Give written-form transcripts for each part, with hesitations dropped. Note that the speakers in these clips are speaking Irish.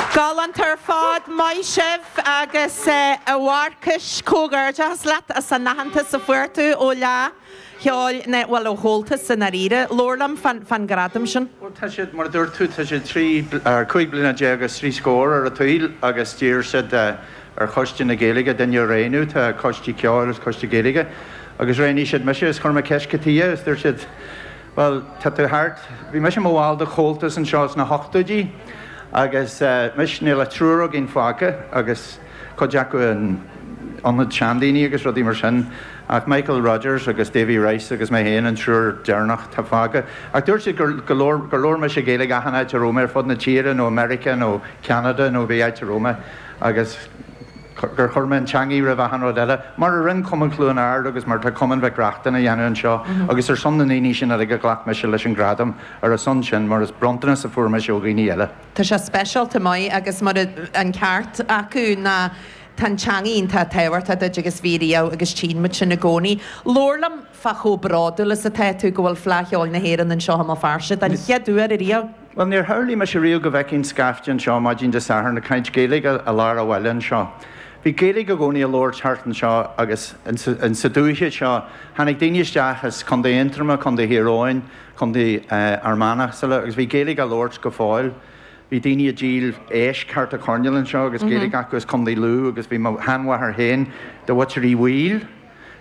Galánta ar fad, maith sibh agus a Mharcais, comhghairdeachas leat as an aitheantas a fuair tú ó Fhleadh Cheoil na, bhuel ó Chomhaltas i ndáiríre. Labhair liom fán ghradam sin. Bhuel tá siad, mar a dúirt tú, tá siad 13 bliana agus 3 scór ar a tsaoil agus d'iarr siad ar Choiste na Gaeilge duine a roghnú, tá Coiste Ceoil agus Coiste Gaeilge, agus roghnaigh siad mise is chuir mé ceist cad chuige is dúirt siad, Bhuel, tá tú thart. Bhí mise i mo bhall de Chomhaltas anseo sna hochtóidí agus anois níl ach triúr againn fágtha agus cuid acu in ionad seandaoine agus rudaí mar sin ach Michael Rodgers agus Davy Rice agus mé féin an triúr deireanach atá fágtha. Ach dúirt siad gur go labhair gur labhair mise Gaeilge achan áit a raibh mé ar fud na tíre nó i Meiriceá nó Ceanada nó pé áit a raibh mé agus gur chuir mé an teangaidh roimh achan rud eile, mar a rinn Cumann Chluain Ard agus mar atá Cumann Mhic Reachtain a dhéanamh anseo agus ar son na ndaoine sin uilig a ghlac mise leis an gradam, ar a son sin, mar is bronntanas a fuair mise ó dhaoine eile. Tá sé speisialta maith agus mar an ceart acu ná tá an teangaidh iontach tábhachtach duit agus bhí riamh agus tchíonn muid sin i gcónaí. Labhair liom fá chomh bródúil is atá tú go bhfuil Fleadh Cheoil na hÉireann anseo i mBéal Feirste den chéad uair ariamh. Bhuel, níor shamhlaigh mise riamh go bhfeicfinn scaifte anseo maidin Dé Sathairn ag caint Gaeilge i lár an bhaile anseo. Bhí Gaeilge i gcónaí á labhairt thart anseo agus in sa dúiche seo. Tháinig daoine isteach as Contae Aontroma, Contae Thír Eoghain, Contae Fhear Manach is eile agus bhí Gaeilge á labhairt go fóill. Bhí daoine ag díol éisc thart an choirnéal anseo agus Gaeilge acu as Contae Lú agus bhí mo sheanmháthair féin de mhuintir Uí Bhaoill.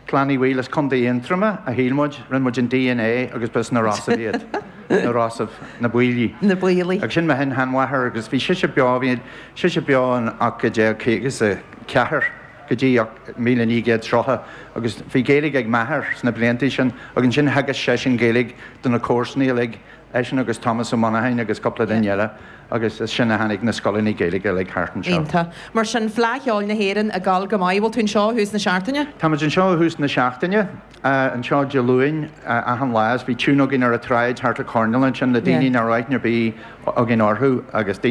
Clann Uí Bhaoill as Contae Aontroma, a shíl muid. Rinne muid an DNA agus ba as na Rosaibh iad. Na Rosaibh. Na Baoilligh. Na Baoilligh. Agus sin mo shin-sheanmháthair agus bhí sise beo, bhí sise beo in 1854 go dtí 1930 agus bhí Gaeilge ag m'athair sna bliantaí sin agus ansin theagasc seisean Gaeilge do na comharsanaí uilig. Eisean agus Tomás Ó Monacháin agus cúpla duine eile agus as sin a tháinig na scoileanna Gaeilge uilig thart anseo. Iontach. Mar sin, Fleadh Cheoil na hÉireann ag gabháil go maith. Bhfuil tú anseo ó thús na seachtaine? Táimid anseo ó thús na seachtaine, anseo Dé Luain achan lá is bhí tiún againn ar an tsráid thart an choirnéal ansin le daoine nach raibh aithne ar bith againn orthu agus daoine.